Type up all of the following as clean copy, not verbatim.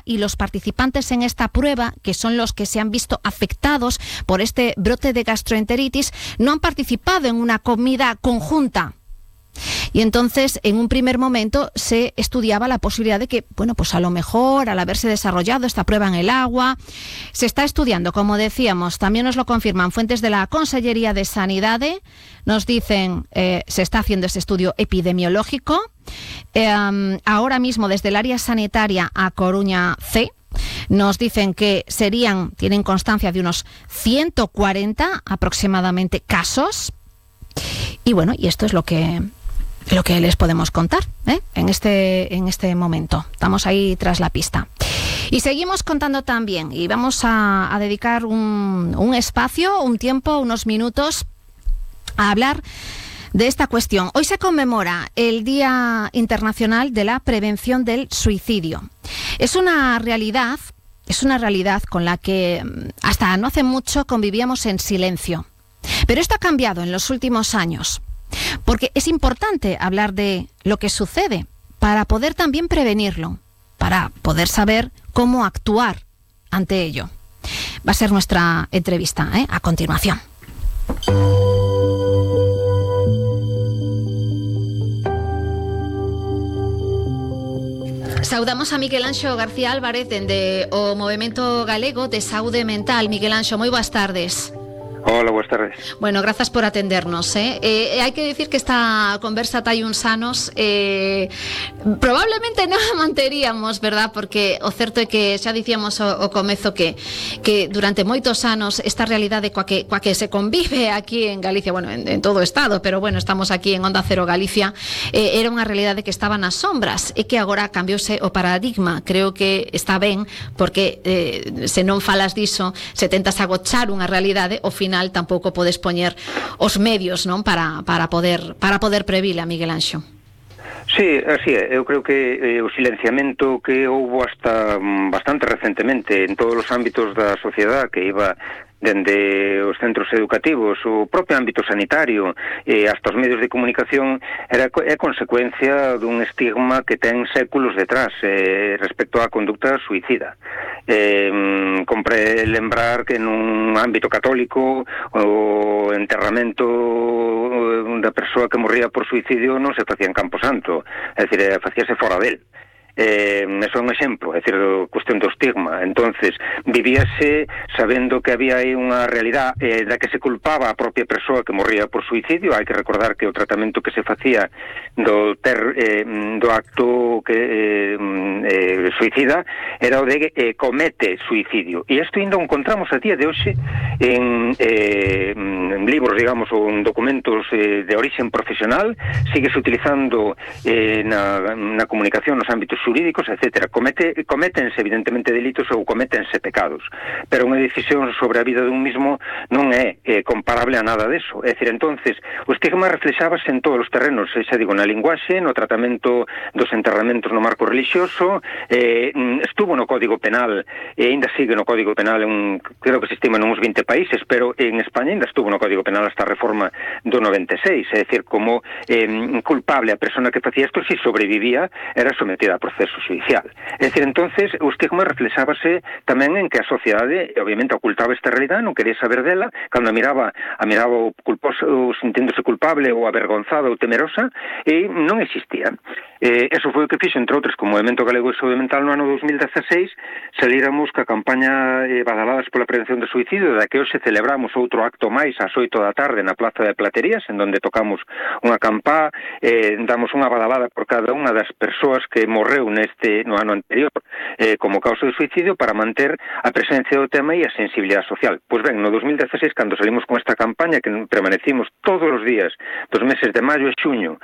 y los participantes en esta prueba, que son los que se han visto afectados por este brote de gastroenteritis, no han participado en una comida conjunta. Y entonces, en un primer momento, se estudiaba la posibilidad de que, bueno, pues a lo mejor, al haberse desarrollado esta prueba en el agua, se está estudiando, como decíamos, también nos lo confirman fuentes de la Consellería de Sanidad, nos dicen, se está haciendo ese estudio epidemiológico. Ahora mismo, desde el área sanitaria A Coruña C, nos dicen que tienen constancia de unos 140 aproximadamente casos. Y bueno, y esto es lo que les podemos contar en este momento. Estamos ahí tras la pista. Y seguimos contando también, y vamos a dedicar un espacio, un tiempo, unos minutos a hablar de esta cuestión. Hoy se conmemora el Día Internacional de la Prevención del Suicidio. Es una realidad con la que hasta no hace mucho convivíamos en silencio. Pero esto ha cambiado en los últimos años, porque es importante hablar de lo que sucede para poder también prevenirlo, para poder saber cómo actuar ante ello. Va a ser nuestra entrevista, a continuación. Saudamos a Miguel Anxo García Álvarez dende o Movemento Galego de Saúde Mental. Miguel Anxo, moi boas tardes. Hola, buenas tardes. Bueno, grazas por atendernos. Hai que decir que esta conversa tai uns anos probablemente non a manteríamos, verdad? Porque o certo é que xa dicíamos o comezo que durante moitos anos esta realidade coa que se convive aquí en Galicia, bueno, en todo o Estado, pero bueno, estamos aquí en Onda Cero Galicia, era unha realidade que estaba nas sombras e que agora cambiouse o paradigma. Creo que está ben, porque se non falas diso, se tentas agochar unha realidade, ao final tampouco podes poñer os medios, non, para poder previla, Miguel Anxo. Sí, así é. Eu creo que o silenciamento que houbo hasta bastante recentemente en todos os ámbitos da sociedade, que iba dende os centros educativos, o propio ámbito sanitario e hasta os medios de comunicación, é consecuencia dun estigma que ten séculos detrás respecto á conducta suicida. Compre lembrar que nun ámbito católico o enterramento da persoa que morría por suicidio non se facía en Camposanto, é dicir, facíase fora del. Eso é un exemplo, é dicir, cuestión do estigma. Entonces, vivíase sabendo que había aí unha realidade da que se culpaba a propia persoa que morría por suicidio. Hai que recordar que o tratamento que se facía do acto que suicida era o de comete suicidio. E isto ainda o encontramos a día de hoxe en libros, digamos, ou en documentos de orixen profesional. Síguese utilizando na comunicación nos ámbitos xurídicos, etcétera. Cométense evidentemente delitos ou cométense pecados, pero unha decisión sobre a vida dun mismo non é comparable a nada deso. É dicir, entonces, o estigma reflexábase en todos os terrenos, xa digo, na linguaxe, no tratamento dos enterramentos no marco religioso, estuvo no Código Penal, e ainda sigue no Código Penal, creo que se estima en uns 20 países, pero en España ainda estuvo no Código Penal hasta a reforma do 96, é dicir, como culpable a persona que facía isto, se sobrevivía, era sometida a proceso judicial. É dicir, entonces, o estigma reflexábase tamén en que a sociedade, obviamente, ocultaba esta realidade, non quería saber dela, cando a miraba o culposo, sinténdose culpable ou avergonzada ou temerosa, e non existía. Eso foi o que fixo, entre outros, como Movemento Galego de Saúde Mental no ano 2016, salíramos ca campaña Badaladas pola Prevención do Suicidio, da que hoxe celebramos outro acto máis ás 8 da tarde na Plaza de Platerías, en donde tocamos unha campá, damos unha badalada por cada unha das persoas que morreu no ano anterior como causa de suicidio, para manter a presencia do tema e a sensibilidade social. Pois ben, no 2016, cando salimos con esta campaña, que permanecimos todos os días dos meses de maio e xuño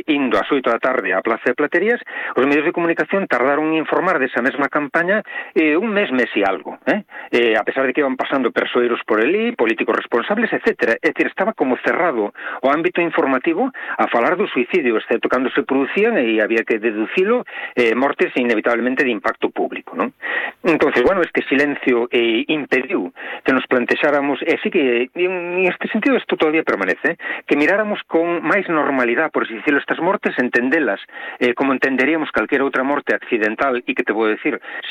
indo ás 8 da tarde á Plaza de Platerías, os medios de comunicación tardaron en informar desa mesma campaña un mes e algo, a pesar de que iban pasando persoeiros por elí, políticos responsables, etcétera. É dicir, estaba como cerrado o ámbito informativo a falar do suicidio, excepto cando se producían e había que deducilo mortes inevitablemente de impacto público, non? Entonces, bueno, este silencio impediu que nos plantexáramos, e sí que en este sentido isto todavía permanece, que miráramos con máis normalidade, por así decirlo, estas mortes, entendelas como entenderíamos calquera outra morte accidental, e que te vou decir,